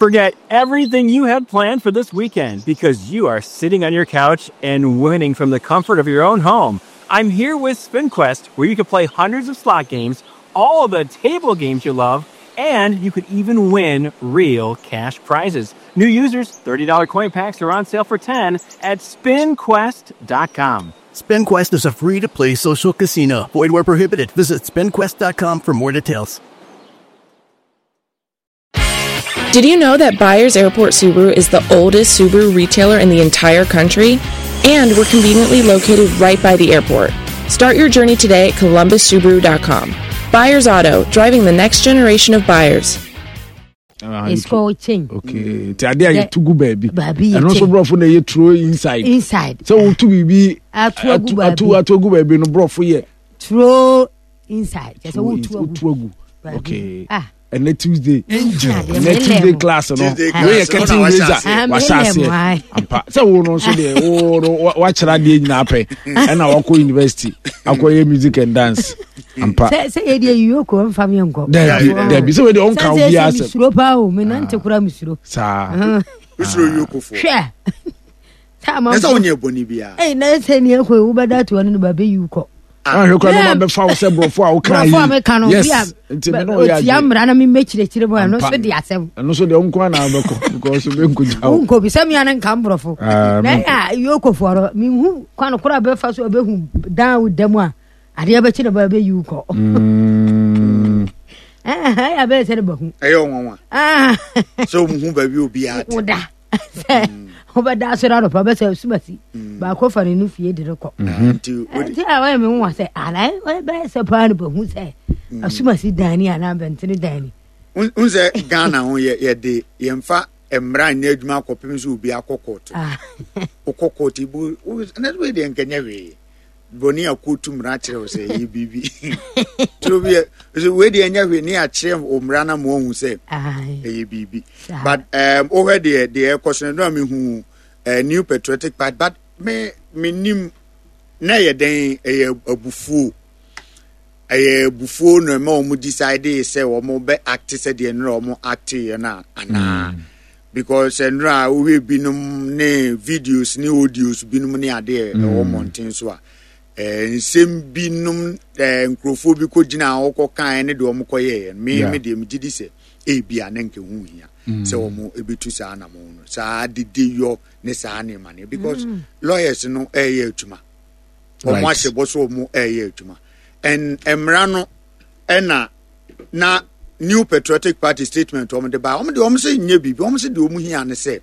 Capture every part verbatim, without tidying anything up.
Forget everything you had planned for this weekend because you are sitting on your couch and winning from the comfort of your own home. I'm here with SpinQuest, where you can play hundreds of slot games, all the table games you love, and you could even win real cash prizes. New users, thirty dollar coin packs are on sale for ten at spin quest dot com. SpinQuest is a free to play social casino. Void where prohibited. Visit spin quest dot com for more details. Did you know that Byers Airport Subaru is the oldest Subaru retailer in the entire country? And we're conveniently located right by the airport. Start your journey today at Columbus Subaru dot com. Byers Auto, driving the next generation of buyers. Ah, It's called chain. Okay, nti adeɛ a yɛtu gu baabi, Baabi yɛ ɛno nso kyɛn. Borɔfo na ɛyɛ throw inside. Inside. Sɛ wotu biribi Ato agu atu baabi. Ato agu baabi no, borɔfo yɛ Throw inside. Kyerɛ sɛ wotu agu. Wotu agu. Baabi. Okay. Ah. Ɛnɛ Tuesday, Adeɛ ɛnɛ mele Tuesday mo. class no, Tuesday class wei yɛ no, curtain na wahyɛ raiser. aseɛ. Ah, Wahyɛ mele mo, aseɛ. aye. Ampa sɛ wo no nso deɛ, wo no wa- wakyerɛ adeɛ nyinaa pɛ, ɛna wakɔ university akɔyɛ music and dance ampa. Sɛ sɛ yɛ deɛ yiyoko mfa mi nkɔ. Dabi, dabi, sɛ wei deɛ ɔnka wo Sɛ biara sɛ asɛm. Misuro paa o, menante koraa misuro. Saa. Wosoro yokofoɔ. Hwɛ. Sɛ na sɛ amanfo. wonyɛ bɔne biara. Ɛy na sɛ nea ɛkɔ yi wobɛda to ɔno no ba bɛyi wo kɔ. Ahwɛ kora Yeah. no ma bɛfa wo sɛ borɔfo a woka. Borɔfo a meka no, yes bi a nti me ne ɔyɛ otia adwene. Mmara na memmɛkyerɛkyerɛ mu a, ɛno Ampa. nso de asɛm. Ɛno nso deɛ, wo nko ana wobɛkɔ because wobɛnkɔgya wo. Wonkɔ bi sɛ mea no nka mborɔfo. Ah, Na menkɔ. ɛyɛ a yokofoɔ no, menhu kwan koro a bɛfa so a bɛhu dan wo da mu a adeɛ bɛkye ne ba bɛyi wo kɔ. Mm. Ɛyɛ a bɛyɛ sɛ ne bahu. Ɛyɛ ɔnwanwa Ah. sɛ ɔmuhu baabi obiara te. Woda sɛ wobɛda asɔre anɔpa bɛsɛ sumasi baako fa ne no fie de no kɔ. Nti wode Nti a wɔyɛ me nwa sɛ ana bɛyɛ sɛ paa no bahu sɛ asumasi dani anaa bɛntene dani. N sɛ Ghana ho yɛ yɛde yɛmfa mmara nyɛ adwuma akɔpem sɛ obi akɔ court. Ah. Wokɔ court ibu na wei deɛ nkɛnyɛ hwee bɔne a kootu mmara kyerɛ wo sɛ ɛyɛ biribi turo bi yɛ sɛ wei deɛ ɛnyɛ hwee ne akyerɛ wo mmara no ma wahu sɛ Aye. ɛyɛ biribi. Saa. But um, wohwɛ deɛ deɛ ɛkɔ so no no a mehu uh, New Patriotic Party, but me menim na ɛyɛ dɛn, ɛyɛ abufuo, ɛyɛ abufuo na ɛma wɔn decide sɛ wɔn bɛ act sɛ deɛ nnora wɔn act yɛ no a anaa, because nnora a wohwɛ binom ne videos ne audios binom ne adeɛ ɛwɔ mmɔnten so a, ɛɛ nsɛm binom ɛɛ nkurɔfoɔ bi kɔ gyina a wɔkɔ kan ne deɛ wɔn kɔ yɛɛ no, me Yeah. me deɛ me gye di sɛ ebi a ne nke ho hia sɛ wɔn ebetu saa anamɔ no, saa dede yɔ ne saa nneɛma no, because lawyers no ɛɛyɛ adwuma, wɔn Right. ahyɛ bɔ so wɔn ɛɛyɛ adwuma, and mmara no ɛna na New Patriotic Party statement wɔn de ba, wɔn de wɔn sɛ nyɛ biribi, wɔn sɛ deɛ wɔn hia ne sɛ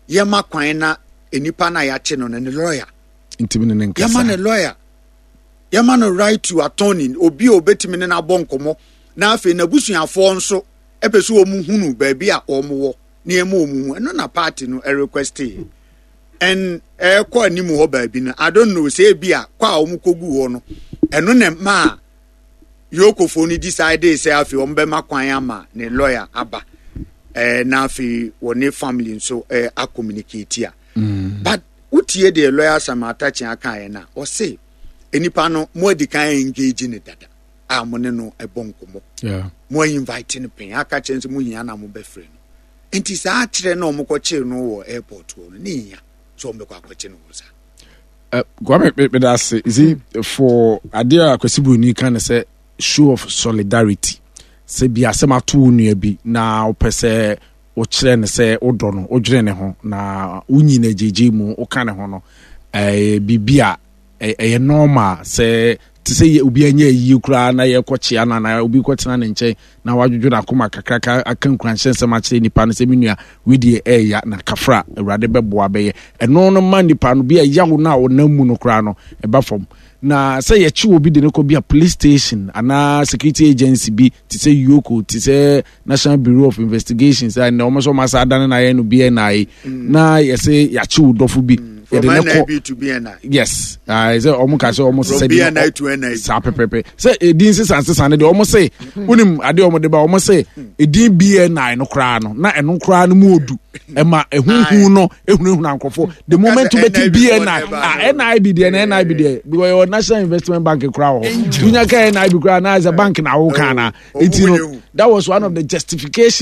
yɛma kwan na nipa na yɛakye no no ne lawyer ntimi ne ne yɛma ne nkasa. Lawyer, yɛma no right to attorney, obi a obetumi ne n'abɔ nkɔmɔ, na afei n'abusuafoɔ nso ɛpɛ sɛ wɔn hunu baabi a wɔn wɔ na yɛma wɔn hu. Ɛno na party no ɛrequest yɛ, and ɛkɔ anim hɔ baabi no, I don't know sɛ ebi a kɔ a wɔn kɔ gu hɔ no, ɛno na mmaa yokofoɔ no decide sɛ afei wɔn bɛma kwan ama ne lawyer aba ɛɛ na afei wɔne family nso ɛɛ acommunicate a. But wotie deɛ lawyer Sam Atakye aka yɛn na ɔse nipa no mo adi kan engage ne dada a mo ne no ɛbɔ nkɔmɔ. Yeah. Mo invite no pɛn aka kyerɛ nso mo hia na mo bɛfrɛ no, nti saa kyerɛ na ɔmo kɔkyere no wɔ airport hɔ no ne hia sɛ ɔmo bɛkɔ akɔkye no wɔ saa. Uh, Kwame, me- meda ase. You see, for adeɛ a Kwasi Buroni ka ne sɛ show of solidarity, sɛ bi asɛm ato wo nua bi na wopɛ sɛ wokyerɛ ne sɛ wodɔ no, wodwene ne ho na wonyi no agyegye mu woka ne ho no, ɛyɛ biribi a ɛ- ɛyɛ normal sɛ te sɛ yɛ- obi anya ayie koraa na yɛkɔkyea no anaa obi kɔtena ne nkyɛn na wadwodwo n'akoma kakraka aka nkuranhyɛ nsɛm akyerɛ nipa no sɛ me nua, wedeɛ ɛɛya na kafra, Awurade bɛboa bɛyɛ. Ɛno no ma nipa no bi a ɛyawo no a ɔnam mu no koraa no ɛba fam. Na sɛ yɛkye obi de no kɔ bi a police station anaa security agency bi te sɛ EOCO, te sɛ National Bureau of Investigations a ɛnɛ wɔn nso wɔn asa adane na ayɛ no B N I, na yɛsɛ yɛakye wo dɔfo bi, From yɛde ne kɔ N I B to B N I. Yes, uh, sɛ ɔmo ka sɛ ɔmo From sɛ B N I to N I B. Saa pɛpɛpɛ sɛ edin sisan sisan ne deɛ, ɔmo se wonim adeɛ ɔmo de ba, ɔmo se edin B N I no koraa no na ɛno koraa no mu odu ɛma ehuhu no ehunahuna nkorɔfo. The moment N I B wobɛti B N I, foɔ ah, N I B deɛ na N I B deɛ, because yɛwɔ National Investment Bank koraa wɔ hɔ, tunya ka N I B koraa na sɛ bank na awo kan na Oh, eti no ɔmo that was one of the justification.